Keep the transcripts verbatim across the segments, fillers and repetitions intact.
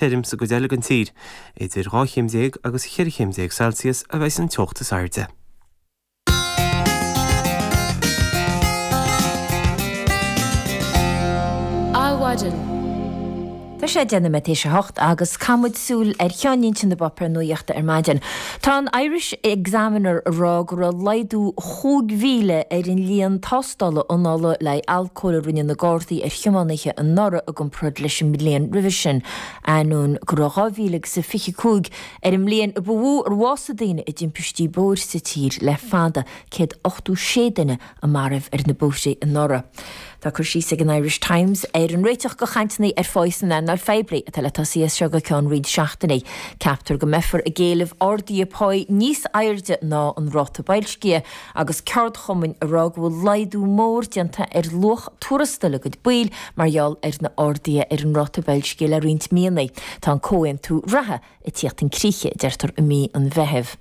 Tirim sa gcuid eile den tír, idir dhá chéim déag agus cheithre chéim déag Celsius a bheidh an teocht is airde. Adhmhaidin. Tá sé deich nóiméad théis a hocht agus caithfidh muid súil ar cheannlínte na bpáipéar nuachta ar maidin. Tá an Irish Examiner ag rá go raibh laghdú chúig mhíle ar an líon tástála anála le alcól a rinne na Gardaí ar thiománaithe anuraidh i gcomparáid leis an mbliain roimhe sin. Ainneoin go raibh dhá mhíle agus a fiche cúig ar an mbliain a ba mhó ar bhásaigh daoine i dtimpistí bóthair sa tír le fada, céad ochtó sé duine a maraíodh ar na bóithre anuraidh. Tá cur síos ag an Irish Times ar an réiteach do chainteanna ar pháí san earnáil phoiblí atá le tosaí as seo go ceann roinnt seachtainí. Ceaptar go mbeifear ag éileamh arduithe páí níos airde ná an ráta boilscithe agus ceardchumainn ag rá go bhfuil laghdú mór déanta ar luach tuarastail a gcuid baill mar gheall ar na arduithe ar an ráta boilscithe le roinnt míonna. Tá an comhaontú reatha ag tíocht chun críche, a deirtear, i mí an Mheithimh.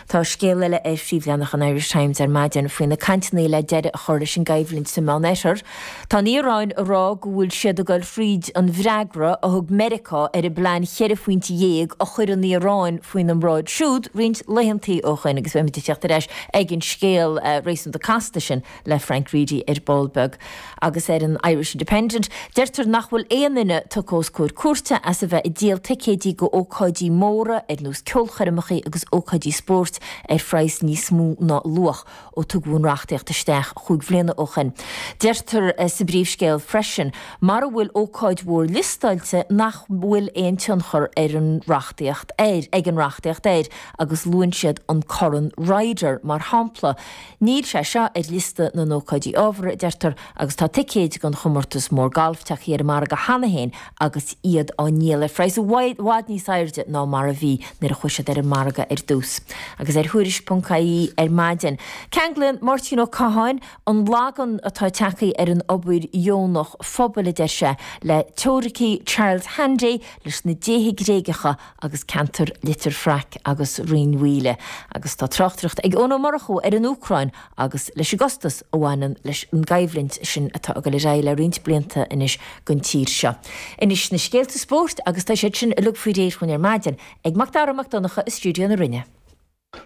Tá scéal eile ar phríomhleathanach an Irish Times ar maidin faoi na cainteanna le deireadh a chur leis an gcoimhlint sa Meánoirthear. Tá an Iaráin ag rá go bhfuil siad ag dul thríd an bhfreagra a thug Meiriceá ar an bplean cheithre phointe dhéag a chuir an Iaráin faoina mbráid siúd roinnt laethantaí ó shoin agus beimid ag teacht ar ais ag an scéal réasúnta casta sin le Frank Reidy ar ball beag. Agus ar an Irish Independent, deirtear nach bhfuil aon duine tugtha os comhair cúirte as a bheith ag díol ticéidí go ócáidí móra ar nós ceolchoirmeacha agus ócáidí spóirt ar phraghas níos mó ná a luach ó tugadh an reachtaíocht isteach chúig bhliana ó shoin. Deirtear sa bpríomhscéal freisin, mara bhfuil ócáid mhór liostáilte nach bhfuil aon tionchar ar an reachtaíocht air ag an reachtaíocht air agus luann siad an Corn Ryder mar shampla. Níl sé seo ar liosta na n-ócáidí ábhartha, a deirtear, agus tá ticéid don chomórtas mór gailf tagtha ar an margadh cheana féin agus iad á ndíol ar phraghas i bhfad níos airde ná mar a bhí nuair a chuaigh siad ar an margadh ar dtús. Agus ar Thuairisc ponc ie ar maidin, ceanglaíonn Máirtín Ó Catháin an lagan atá tagtha ar an obair dheonach phobail, a deir sé, le teoiricí Charles Handy, leis na déithe Gréagacha agus ceantar Leitir Fraic agus Rinn Mhaoile. Agus tá tráchtaireacht ag Eoin Ó Murchú ar an Úcráin agus leis an gcostas a bhaineann leis an gcoimhlint sin atá ag dul ar aghaidh le roinnt blianta anois don tír seo. Anois na scéalta spóirt agus tá siad sin uilig faoi réir chugainn ar maidin ag Mac Dara Mac Donncha i stiúideo na Rinne.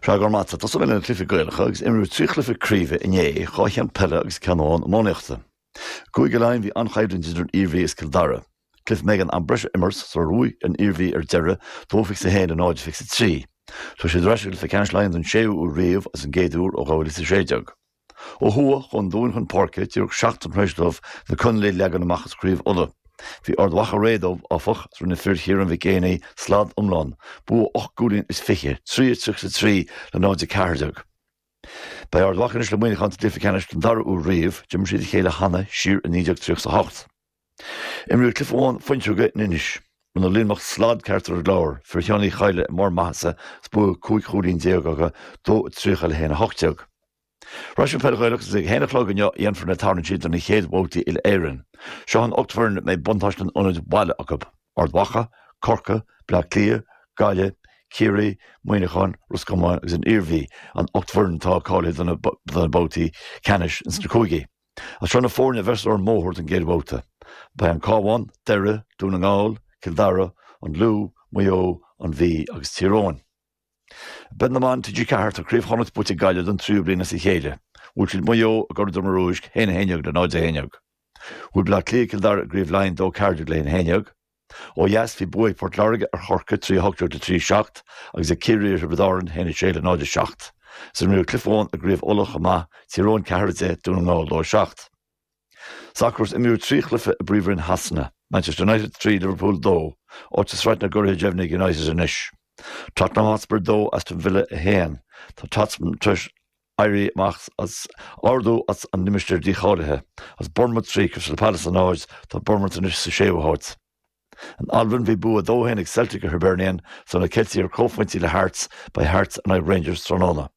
Sea, go raibh maith agat. Tosóidh mé le na cluichí Gaelacha agus imríodh trí chluiche craoibhe inné, dhá cheann peile agus ceann amháin iománaíochta. I gCúige Laighean bhí an-choimhlint idir an Iarmhí is Cill Dara. Cluiche a mbeidh an am breise a imirt sular bhuaigh an Iarmhí ar deireadh, dó fiche is a haon le náid fiche is a trí. Tá siad ar ais i gcluiche ceannais Laighean don séú huair riamh agus an gcéad uair ó dhá mhíle is a sé déag. Ó thuaidh, chuaigh an Dún chun páirce díreach seachtain tar éis dóibh na Conallaigh a leagan amach as Craobh Uladh. Bhí Ard Mhacha réidh dóibh, áfach, agus rinne fir Chiarán Mhic Éanaigh slad iomlán, bua ocht gcúilín is fiche, trí a tríocha is a trí le náid a ceathair déag. Beidh Ard Mhacha anois le Muineachán sa gcluiche ceannais don dara huair riamh, d'imir siad a chéile cheana siar i naoi déag tríocha is a hocht. Imríodh cluiche amháin fuinseoige in Inis. Rinne Luimneach slad ceart ar an gClár, fir Sheáin Uí Chadhla i mbarr maitheasa is bua cúig chúilín déag acu, dó a tríocha le haon a hocht déag. Ar ais ar an bpeil Ghaelach is ag a haon a chlog inniu a dhéanfar na tarraingtí do na chéad bhabhtaí uile-Éireann. Seo an ocht bhfoireann a mbeidh buntáiste an ionaid bhaile acu, Ard Mhacha, Corcaigh, Bleá Cliath, Gaillimh, Ciarraí, Muineachán, Ros Comáin agus an Iarmhí, an ocht bhfoireann atá cáilithe do na babhtaí ceannais ins na cúigí. Agus seo na foirne a bheas ar an mbóthar don gcéad bhabhta. Beidh an Cabhán, Doire, Dún na nGall, Cill Dara, an Lú, Maigh Eo, an Mhí agus Tír Eoghain. I bpeil na mban T G ceathair tá Craobh Chonnacht buaite ag Gaillimh don tríú bliain as a chéile. Bhuail siad Maigh Eo i gCora Droma Rúisc, a haon a haon déag le náid a haon déag. Bhuail Bleá Cliath Cill Dara i gCraobh Laighean dó ceathair déag le haon a haon déag. Ó dheas bhí bua ag Port Láirge ar Chorcaigh, trí a hocht déag le trí a seacht, agus ag Ciarraí ar Thiobraid Árann, a haon a sé le náid a seacht. Is imríodh cluiche amháin i gCraobh Uladh chomh maith, Tír Eoghain ceathair a deich, Dún na nGall dó a seacht. Sacar is imríodh trí chluiche i bPríomhroinn Shasana, Manchester United trí, Liverpool dó, áit i Sraith na gCuradh deimhnithe ag United anois. Tottenham Hotspur dó, Aston Villa a haon. Tá Tottenham tar éis éirí amach as ardú as an limistéar dícháilithe. As Bournemouth trí, Crystal Palace a náid, tá Bournemouth anois sa séú háit. In Albain bhí bua dó a haon ag Celtic ar Hibernian, is tá na Ceiltigh ar comhphointí le Hearts, beidh Hearts in aghaidh Rangers tráthnóna.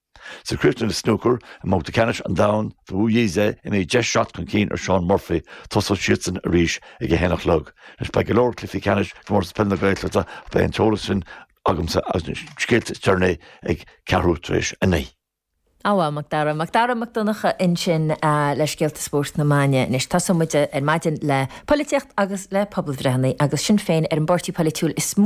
Sa chríochnú le snúcar, i mbabhta ceannais an domhain, tá Wu Yize imithe deich seat chun cinn ar Shaun Murphy, tosóidh siadsan arís ag a haon a chlog. Anois beidh go leor cluichí ceannais i gcomórtas peile na Gaeltachta ach beidh an t-eolas sin agamsa agus na scéalta is deireanaí ag ceathrú tar éis a naoi. Á Macdara Macdara Mac Donncha ansin le scéalta spóirt na maidine anois tosóidh muid ar maidin le polaitíocht agus le pobalbhreitheanna agus Sinn Féin ar an bpáirtí polaitiúil is mó